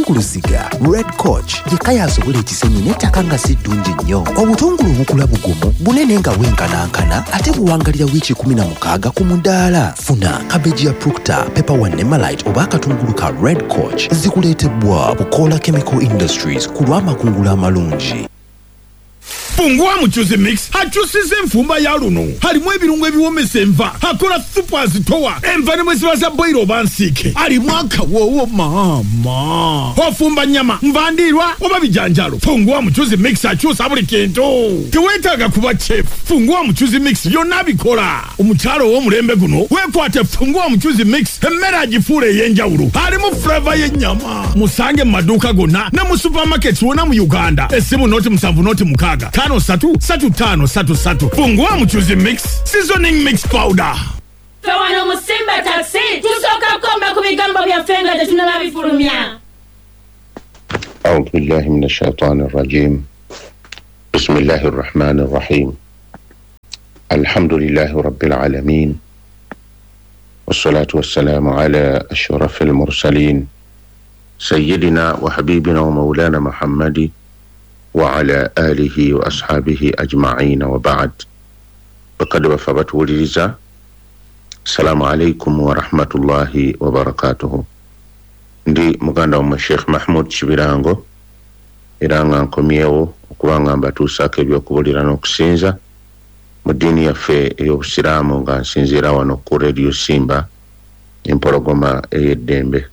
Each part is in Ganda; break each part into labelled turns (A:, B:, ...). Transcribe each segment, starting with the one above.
A: Obutungulu siga Red Coach yekka y'asobola ekisenyi n'ettaka nga si ddungi nnyo. Obutungulu bukula bugumu, bunene nga bwenkanankana ate buwangalira wiiki 16 ku mudaala. Funa kabeegi ya Proctor, Pepper One ne Malite oba akatungulu ka Red Coach. Zikuleetebwa Bukola Chemical Industries ku lw'amakungula amalungi.
B: Fungua Muchuzi Mix akyusiza enfumba ya luno. Alimu ebirungo ebiwomesa enva, akola supu azitowa, enva ne bwe ziba za boyiro oba nsiike. Alimu akawoowo maama. Ofumba nnyama, nva ndiirwa oba bijanjalo. Fungua Muchuzi Mix akyusa buli kintu. Teweetaaga kuba chef. Fungua Muchuzi Mix byonna abikola. Omukyala ow'omulembe guno weekwate Fungua Muchuzi Mix, emmere agifuula ey'enjawulo. Alimu flava y'ennyama. Musange mu maduuka gonna ne mu supermarkets wonna mu Uganda. Essimu 076 53 35 33. Fungua Muchuzi Mix Seasoning Mix Powder.
C: Ffe wano mu Simba Taxi tusooka kukomba ku bigambo byaffe nga tetunnaba bifulumya.
D: أعوذ بالله من الشيطان الرجيم. بسم الله الرحمن الرحيم. الحمد لله رب العالمين، والصلاة والسلام على أشرف المرسلين، سيدنا وحبيبنا ومولانا محمد وعلى آله وأصحابه أجمعين، وبعد. بقد وفبت ولرزا. السلام عليكم ورحمة الله وبركاته. Ndi muganda wa Sheikh Mahmoud Kibirango, era nga nkomyewo okubanga mbatuusaako ebyokubulira n'okusinza mu ddiini yaffe ey'obusiraamu, nga nsinziira wano ku Radio Simba empologoma ey'eddembe.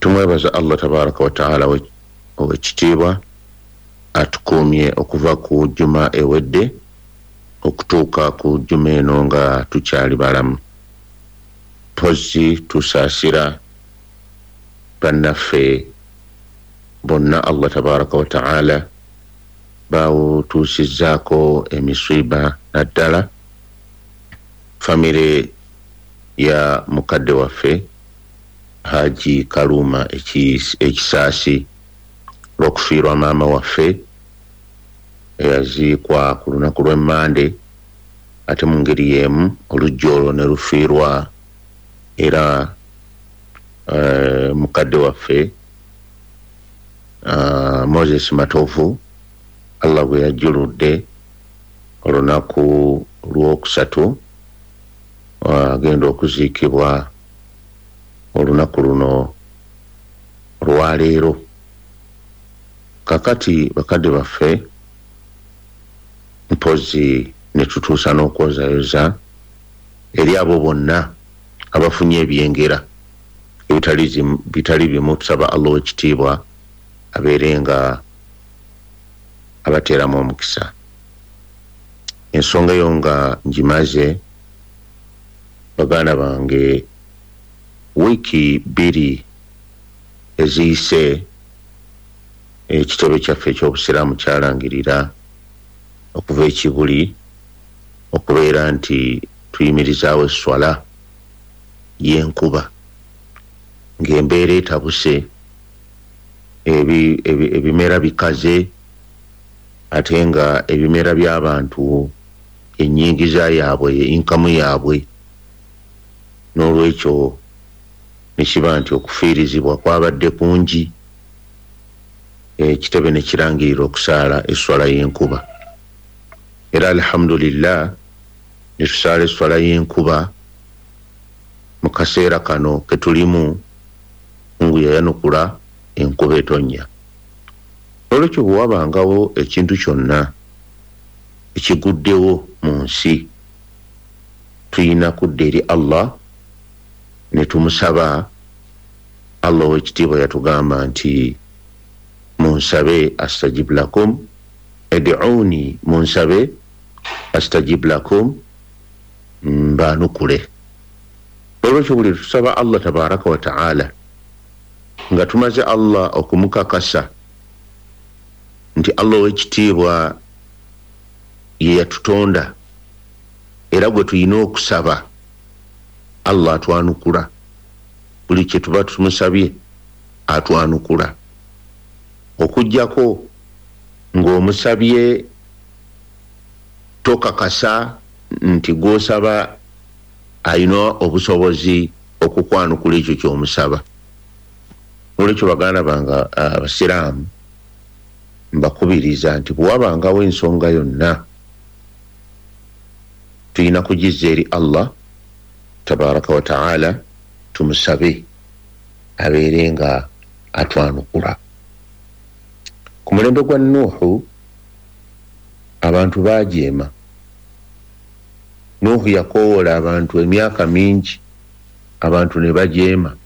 D: Tumwebaza Allah tabaraka wa taala ow'ekitiibwa atukuumye okuva ku juma ewedde okutuuka ku juma eno nga tukyali balamu. Mpozzi tusaasira bannaffe bonna Allah tabaraka wa taala bawutuusizzaako emisiiba, naddala famire ya mukadde waffe Haji Kaluma Ekisaasi olw'okufiirwa maama waffe eyaziikwa ku lunaku lw'Emmande, ate mu ngeri y'emu olujja olwo ne lufiirwa era mukadde waffe Moses Matovu, Allah bwe yajjuludde olunaku lwokusatu agenda okuziikibwa olunaku luno olwaleero. Kakati bakadde baffe, mpozzi ne tutuusa n'okwozayoza eri abo bonna abafunye ebyengera ebitali bimu. Tusaba Allah ow'ekitiibwa abeere nga abateeramu omukisa. Ensonga eyo nga ngimaze, baganda bange, wiiki 2 eziyise ekitebe kyaffe eky'obusiraamu kyalangirira okuva ekibuli okubeera nti tuyimirizaawo esswala y'enkuba ng'embeera etabuse, ebimera bikaze, ate nga ebimera by'abantu ennyingiza yaabwe, inkamu yaabwe. N'olwekyo ne kiba nti okufiirizibwa kwabadde kungi, ekitebe ne kirangirira okusaala esswala y'enkuba. Era alhamdulillah ne tusaala esswala y'enkuba mu kaseera kano ke tulimu, Mungu yayanukula enkuba etonnya. Olwekyo bwe wabangawo ekintu kyonna ekiguddewo mu nsi, tuyina kudda eri Allah ne tumusaba. Allah ow'ekitiibwa yatugamba nti munsabe astajib lakum, ed'uuni, munsabe astajib lakum, mbanukule. Olwekyo buli tusaba Allah tabaraka wa taala nga tumaze Allah okumukakasa nti Allah ow'ekitiibwa ye yatutonda era gwe tulina okusaba, Allah atwanukula. Buli kye tuba tumusabye atwanukula, okuggyako ng'omusabye tokakasa nti gw'osaba alina obusobozi okukwanukula ekyo ky'omusaba. Nolwekyo baganda bange abasiraamu, mbakubiriza nti bwewabangawo ensonga yonna tulina kugizza eri Allah tabaraka wa taala, tumusabe abeere nga atwanukula. Ku mulembe gwa Nuuhu abantu baajeema. Nuuhu yakowoola abantu emyaka mingi, abantu ne bajeema.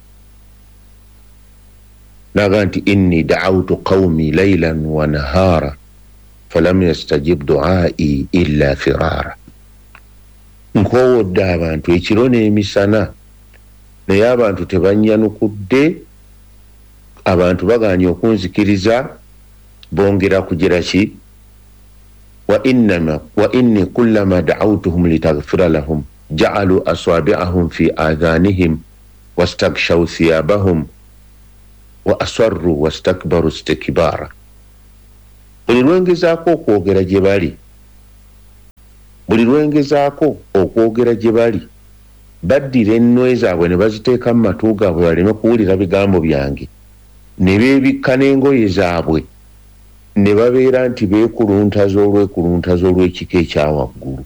D: Naga nti inni da'awtu qawmi laylan wa nahara falam yastajib du'ai illa firara. Nkoowodde abantu ekiro n'emisana, naye abantu tebannyanukudde, abantu bagaanye okunzikiriza, bongera kugira ki? Wa inni kullama da'awtuhum litaghfira lahum ja'alu asabi'ahum fi adhanihim wastaghshaw thiyabahum wa asarru wastakbaru istikbara. Buli lwengezaako okwogera gye bali, buli lwengezaako okwogera gye bali, baddira ennwe zaabwe ne baziteeka mu matu gaabwe baleme kuwulira bigambo byange, ne beebikka n'engoye zaabwe, ne babeera nti beekuluntaza olwekuluntaza olw'ekika ekya waggulu.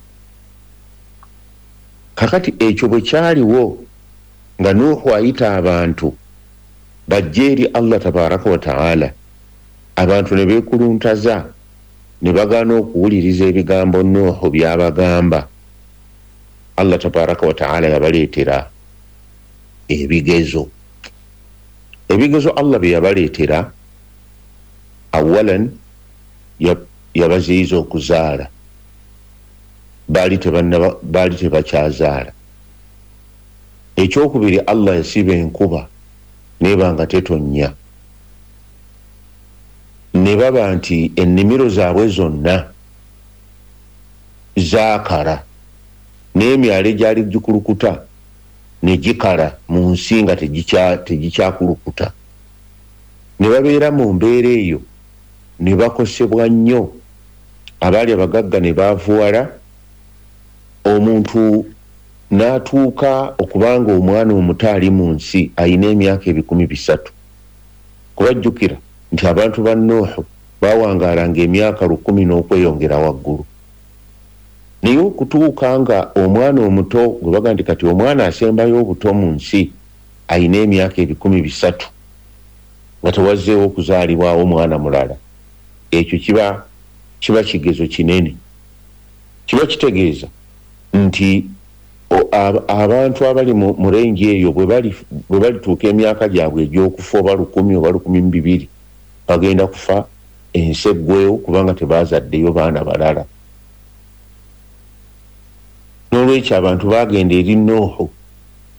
D: Kakati ekyo bwe kyaliwo nga Nuuhu ayita abantu bajje eri Allah tabaraka wa taala, abantu ne beekuluntaza ne bagaana okuwuliriza ebigambo Nuuhu by'abagamba. Allah tabaraka wa taala yabaleetera ebigezo. Ebigezo Allah bye yabaleetera, awalan yabaziyiza okuzaala, baali tebakyazaala. Ekyokubiri, Allah yasiba enkuba neba nga tetonnya, ne baba nti ennimiro zaabwe zonna zaakala, n'emyalo egyali gikulukuta ne gikala mu nsi nga tegikyakulukuta. Ne babeera mu mbeera eyo ne bakosebwa nnyo. Abaali abagagga ne baavuwala, omuntu n'atuuka okubanga omwana omuto ali mu nsi ayina emyaka 300. Kubajjukira nti abantu ba Nuuhu baawangaalanga emyaka 1000 n'okweyongera waggulu. Naye okutuuka nga omwana omuto gwe baga nti kati omwana asembayo obuto mu nsi ayina emyaka 300, nga tewazzeewo okuzaalibwawo omwana mulala, ekyo kiba kigezo kinene. Kiba kitegeeza nti abantu abali mu rengi eyo bwe balituuka emyaka gyabwe egy'okufa oba 1000 oba 1200, bagenda kufa ensi eggwewo kubanga tebaazaddeyo baana balala. N'olwekyo abantu baagenda eri Nuuhu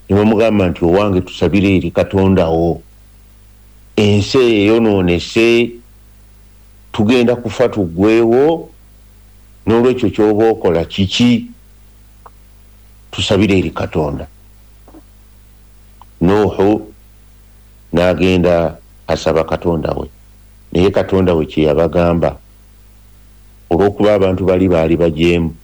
D: ne bamugamba nti owange tusabire eri Katonda wo, ensi eyonoonese, tugenda kufa tuggwewo, n'olwekyo ky'oba okola kiki? Tusabire eri Katonda. Nuuhu n'agenda asaba Katonda we, naye Katonda we kye yabagamba, olw'okuba abantu bali baali bajeemu,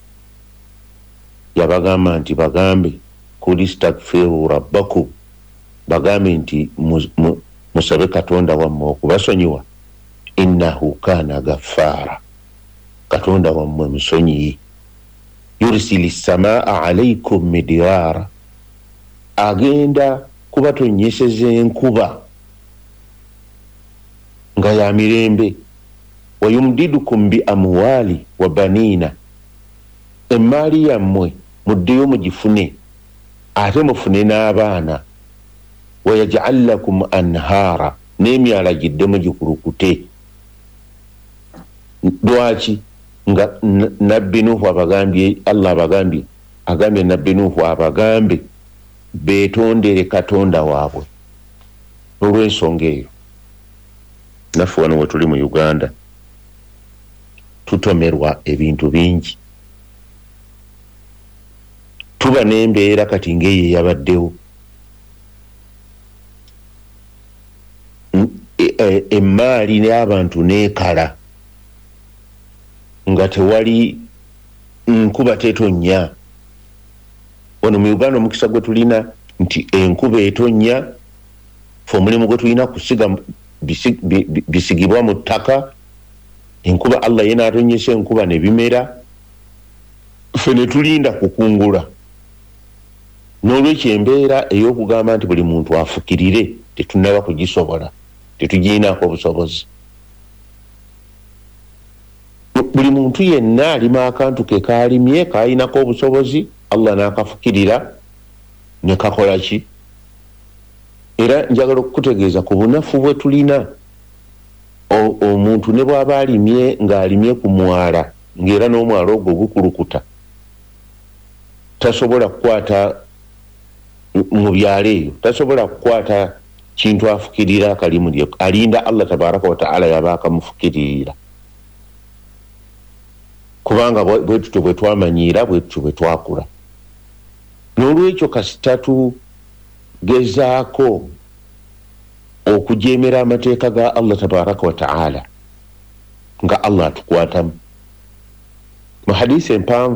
D: yabagamba nti bagambe kul istaghfiru rabbakum, bagambe nti musabe Katonda wammwe okubasonyiwa, innahu kana ghaffara, Katonda wammwe musonyiyi, yursili samaa alaykum midirara, agenda kubatonnyeseza enkuba nga ya mirembe, wayumdidukum bi amwali wa banina, emmaali yammwe muddeyo mugifune ate mufune n'abaana, wayaj'al lakum anhaara, n'emyala giddemu gikulukute. Lwaki? Nga Nabbi Nuuhu abagambye, Allah abagambye, agambye Nabbi Nuuhu abagambe beetondere Katonda waabwe. Olw'ensonga eyo naffe wano we tuli mu Uganda tutomerwa ebintu bingi, tuba n'embeera kati ng'eyo eyabaddewo, emmaali n'abantu n'ekala nga tewali nkuba tetonnya. Wano mu Uganda omukisa gwe tulina nti enkuba etonnya, Fe omulimu gwe tulina kusiga bisigibwa mu ttaka, enkuba Allah ye n'atonyesa enkuba ne bimera, ffe ne tulinda kukungula. N'olwekyo embeera ey'okugamba nti buli muntu afukirire tetunnaba kugisobola, tetugirinaako obusobozi. Buli muntu yenna alima akantu ke kaalimye k'alinako obusobozi, Allah n'akafukirira ne kakola ki? Era njagala okukutegeeza ku bunafu bwe tulina, omuntu ne bw'aba alimye ng'alimye ku mwala, ng'era n'omwala ogwo gukulukuta, tasobola kukwata mu byalo eyo, tasobola kukwata kintu afukirira akalimu lye, alinda Allah tabaraka wa taala yaba akamufukiririra, kubanga bwe tutyo bwe twamanyiira, bwe tutyo bwe twakula. N'olwekyo kasita tugezaako okujeemera amateeka ga Allah tabaraka wa taala, nga Allah atukwatamu. Mu hadisi empanvu